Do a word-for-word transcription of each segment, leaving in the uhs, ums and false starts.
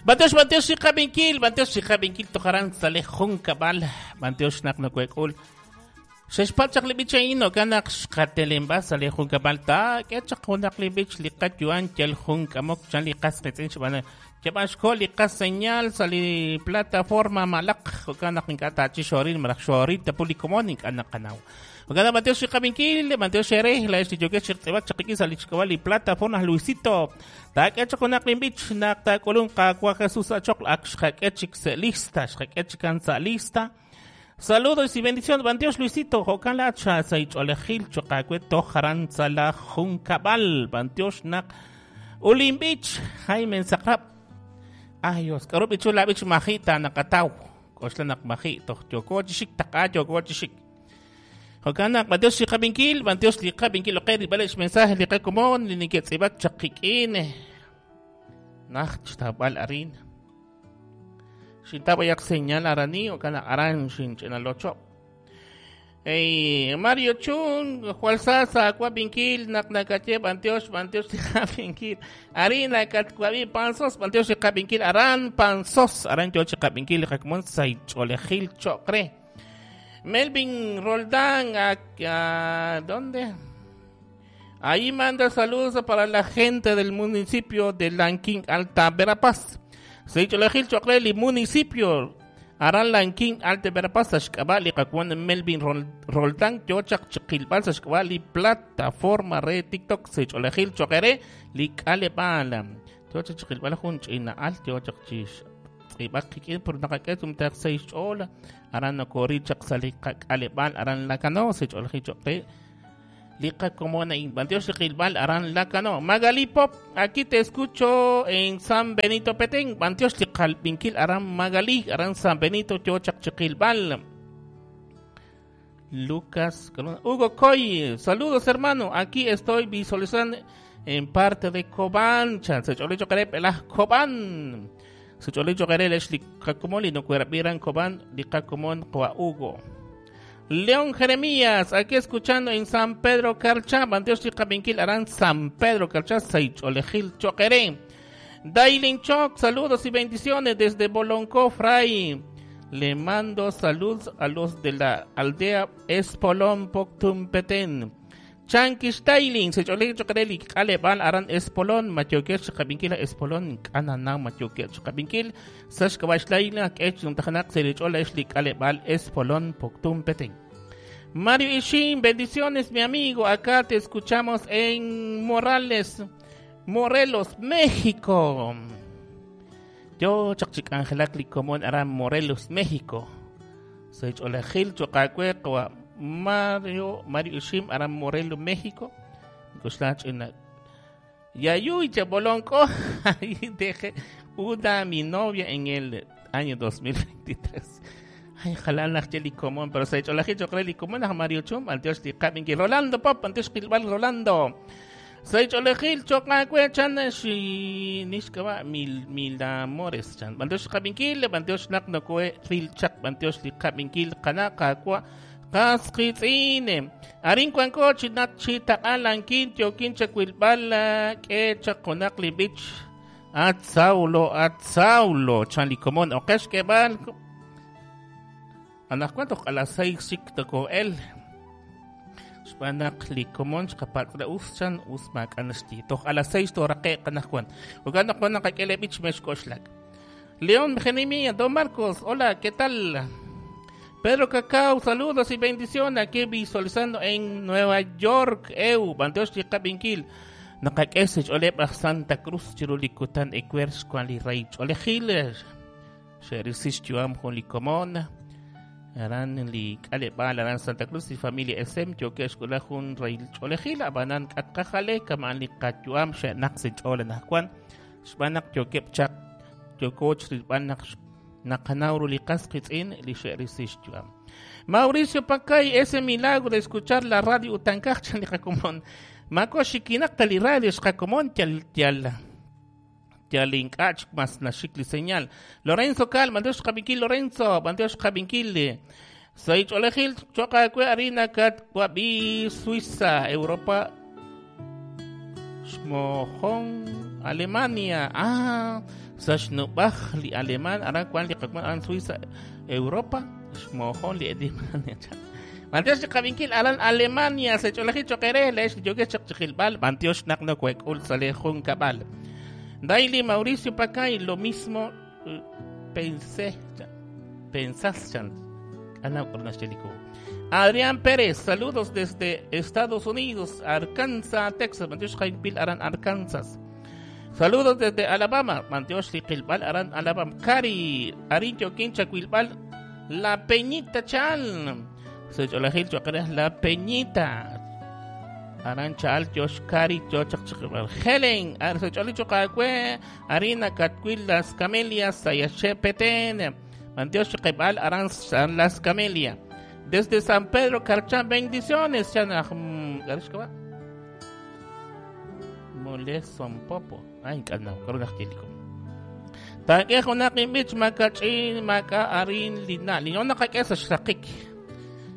Bantiox, bantiox xiqabinkil, bantiox xiqabinkil tojaran sale junkab'al, bantiox naq nokuek'ul. Xexpal chaq li b'ich a'in okan naq xqatelenb'a sa' li junkab'al ta k'e chaq junaq li b'ich li qayu'an yal jun k'amok chan li qas qitz'in xb'aan yab'an xko li qas señal sa' li plataforma malaq jo'kan naq ink'a' tachi xoril malaj xoril tapu li komon ink'a' naqanaw. Jo'kan naq bantiox xiqabinkil, bantiox xerej la ex li yokex xiqtz'ib'ak chaq ik'in sa' li xk'ab'a li plataforma Luisito. Taak'e chaq junaq li b'ich naq taak'ulun Qaawa' Jesus achoq ak xqak'e chik sa' lista, xqak'e chikan sa' lista. Saludos y bendiciones, Bantiox Luisito, jo'kan la cha saich'olejil choqawe tojaran tzala junkab'al, Bantiox naq Ulin Beach, Jaime Saqrab. Ay, Dios, k'aru b'ichu la b'ich majita naqataw, k'oxla naq maji toj yoko chixik taq'a yoko chixik. Jo'kan naq Bantiox liqab'inkil, Bantiox liqab'inkil oqe rib'alex mensaje liqakomon li neke'tz'ib'ak chaqik'in. Naj xtab'al arin. Xintabayak señal arani o kana aran xinch'inalocho. Ey, Mario Chung, Juan Sasa, Cuabinkil, nak nakache, Bantiox, Bantiox, Kabinkil, Arina, Katcuabi, Panzos, Bantiox, Kabinkil, Aran, Panzos, Aran, Yoche, Kabinkil, Jakmon, Saicholejil, Chocre. Melvin Roldán, a, a, ¿dónde? Ahí manda saludos para la gente del municipio de Lanquín, Alta Verapaz. Seycholejil Chocreli, municipio Aran Lanquín, Alta Verapaz, Xkabali, Kakuan Melvin Roldán, Yochak Chiquilbal, Xkabali, plataforma red TikTok, Seycholejil Chocré, Likalebalam. Yochak Chiquilbal, Junchina, Alt, Yochak Chish, Ibak, por Nakaketum, Seychola, Aran Nokori, Chaksali, Kalebal, Aran Lacano, Seycholejil Chocré. Liqa como na Bantiox Xiqilbal Aran Lacano. Magali Pop, aquí te escucho en San Benito Petén. Bantiox Liqalbinkil Aran Magali, Aran San Benito Yochak Chiqilbal. Lucas Hugo Coy, saludos hermano, aquí estoy visualizando en parte de Cobán. Secholicho Kerep, el Cobán. Secholicho Kerep, el Liqakomoli, no cuerapiran Cobán, Liqakomon, Coa Hugo. León Jeremías, aquí escuchando en San Pedro Carchá, Bantiox Xiqabinkil Aran San Pedro Carchá, Seycholejil Choqueré. Dailin Choc, saludos y bendiciones desde Boloncó, Fray. Le mando saludos a los de la aldea Espolón, Poctum Petén. Chankish Dailin, Seycholejil Choqueré, Kalebal Aran Espolón, Matioque Xiqabinkil Espolón, Kanana Matioque Xiqabinkil, Sashkabash Laila, Kech, Nuntajanak, Seychola, Eshli, Kalebal Espolón, Poctum Petén. Mario Ishin, bendiciones mi amigo, acá te escuchamos en Morales, Morelos, México. Yo, Chakchik Angelakli Comón Aran Morelos, México. Soy Cholajil, Chocacue, Mario, Mario Ishim, Aran Morelos, México. Yayuy, Chabolonco, ahí dejé una mi novia en el año dos mil veintitrés. Ay, ojalá la común, pero se ha hecho la gente común a Mario Chum, Antiox Liqabinki, Rolando Pop, Antiox Gilbal Rolando. Se ha hecho la Gil, Chocacue, Chan, Nishkaba, mil, mil amores, Chan. Antiox Liqabinki, Antiox Naknokue, Ril Chak, Antiox Liqabinki, Kanaka, Qua, Casquitzine. Arin Cuancochi, Nachita, Alan Quintio, Quincha Quilbala, Quecha, Conacli Beach, Atzaulo, Atzaulo, Chan Licomón, Oqueshkebal. Anak cuánto a las seis sikto el Xbanak likomon xqapatla uschan usmak anashti toh a las seis toraqe qanajwan uganak wan qakele bich meshkoshlak. León Jeremías, Don Marcos, hola, ¿qué tal? Pedro Cacao, saludos y bendiciones aquí visualizando en Nueva York, eu, Bantiox Liqabinkil. Naqak'esich oleb Santa Cruz chirulikutan ecuerx cuan li rey cholejiles. Xerisich yuam jolikomon. Aran li Kalebal, Aran Santa Cruz y familia S M, yo que escuela jun rey cholejil, abanan katqajale, kaman li katyuam, xenak se chole najkuan, xbanak yo que chak, yo coach ribanak naqanauru li qasqitz'in li xerisich yuam. Mauricio Pacay, ese milagro de escuchar la radio utankaj, chan li qakomon, mako xikinaqta li radio xqakomon, tial tial. Yalinkach mas nashikli señal. Lorenzo Cal, Bandeos Kabinkil, Lorenzo, Bandeos Kabinkil. Soy Cholejil, Chocacue, Harina, Cat, Cuabi, Suiza, Europa, Shmojón, Alemania. Ah, sa xnub'aj li Alemán aran wan li qakomon aran Suiza, Europa, xmojon li Alemania. Bantiox li qabinkil aran Alemania, se ch'olajil choqere lex li yokex chaq chiqilb'al, bantiox naq no kuek'ul sale jun kab'al. Daily Mauricio Pacay, lo mismo pensé, pensás, chan. Adrián Pérez, saludos desde Estados Unidos, Arkansas, Texas, Mantiox Jaipil Aran, Arkansas. Saludos desde Alabama, Mantiox Liquilbal Aran, Alabama. Cari, Arincho Quincha Quilbal, La Peñita Chan. Secholajil Chocares, La Peñita. Aran Chal, Josh Cari, Jochak Chiquilbal. Helen, Secholi Chocacue, Arina Catquil, Las Camelias, Sayache Petén. Mantiox Chiquilbal Aran San Las Camelias. Desde San Pedro Carchán, bendiciones. Moleson Popo. Ay, carnal, corona angélico. Takejo nakin makachin maka arin lina. Linon nakakesa shakik.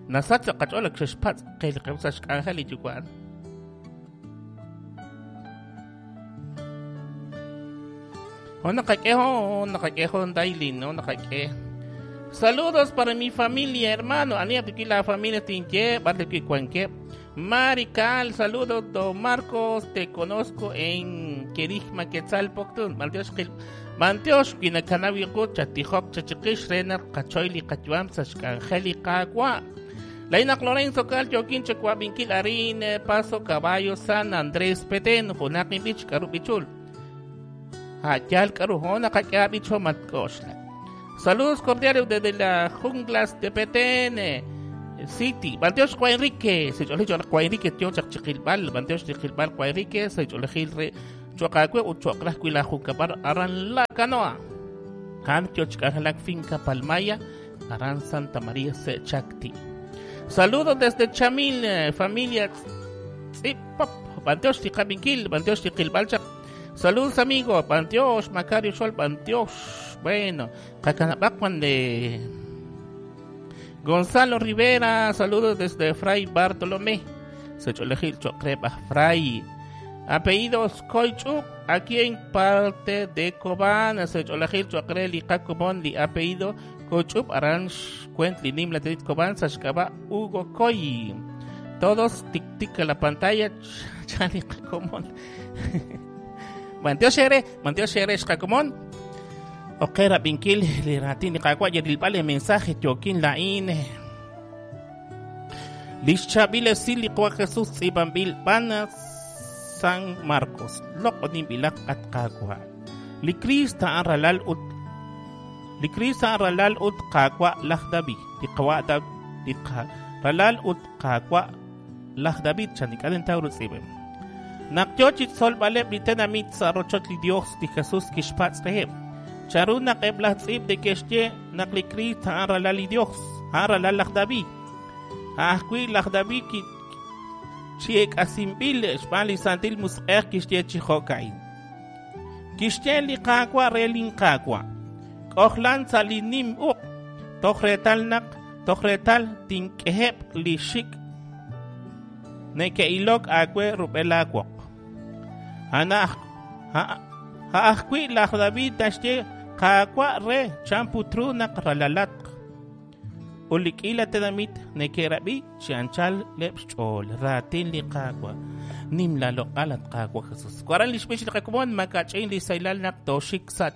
Nasatsa kacholak shashpat. Kelkausa shkanjali yukuan. Onakakejo, nakakejo, dailin, no nakake. Saludos para mi familia, hermano. Anía la familia Tinche, Barle Cuanque. Marical, saludos, don Marcos, te conozco en Querigma Quetzalpoctun. Manteosh, Manteosh, Quinacanavi, Chatijop, Chachiquish, Renar, Cachoili, Cachuam, Sashcangeli, Cagua. Laina Lorenzo, Calcho, Quinche, Cuavinquil, Arine, Paso, Caballo, San Andrés, Petén, Junakin Bich, Carupichul. Hayal, Carujona, Cachabicho, Matcoshla. Saludos cordiales desde las junglas de Petén City. Banteosh Juan Enrique, se Juan Enrique, tío Chachilbal, Banteosh Chilbal Juan Enrique, se Gil Chocacue, Uchocrascuila, Jucabar, Aran La Canoa. Han Tiochcajalac Finca Palmaya, Aran Santa María Se Chacti. Saludos desde Chamil, familia Tzipop, Banteosh Ticaminquil, Banteosh Tiquilbalchac. Saludos amigos, Banteosh, Macario Sol, Banteosh. Bueno, Cacanabacuan de Gonzalo Rivera, saludos desde Fray Bartolomé. Secholejil Chocreba Fray. Apellidos Coichup, aquí en parte de Cobán. Secholejil Chocreli Cacobón, li apellido Coichup, Aranch, Cuentli, Nimla, Tedit Cobán, Sashkaba, Hugo Coy. Todos tic tic a la pantalla, Chali Cacomón. Manteo Shere, Manteo Shere, Cacomón. Okera binkil li ratin qaqwa yadil mensaje tiokin lain. Lixchabile sili qwa Jesús ibambil bana San Marcos. Loqonin bilak at qaqwa. Li Krista aralal ut Li Krista aralal ut qaqwa laj David. Li qawa David li ralal ut qaqwa laj David chanik adentauro tsibem. Nakyochit sol baleb li tenamit sa rochot li Dios li Jesús kishpatz reheb. Charuna qebla tzib de kexye naq li Cristo aralal li Dios, aralal laj David. Ajwi laj David ki chiek asimbil xb'aan li santil musq'ej kixye chi jo'ka'in. Kixye li qaawa re lin qaawa. K'ojlan sa li nim uq toj retal naq toj retal tink'ejeb' li xik neke'ilok aawe rub'el aawoq. Ana ajwi laj David naxye qaawa re champutru naq ralalat ulik'ila tenamit neke'rab'i chi anchal leb' xch'ool raatin li qaawa nim la loq'al at qaawa Jesús. Waran li xb'ix li qakomon makach'in li saylal naq toxik sa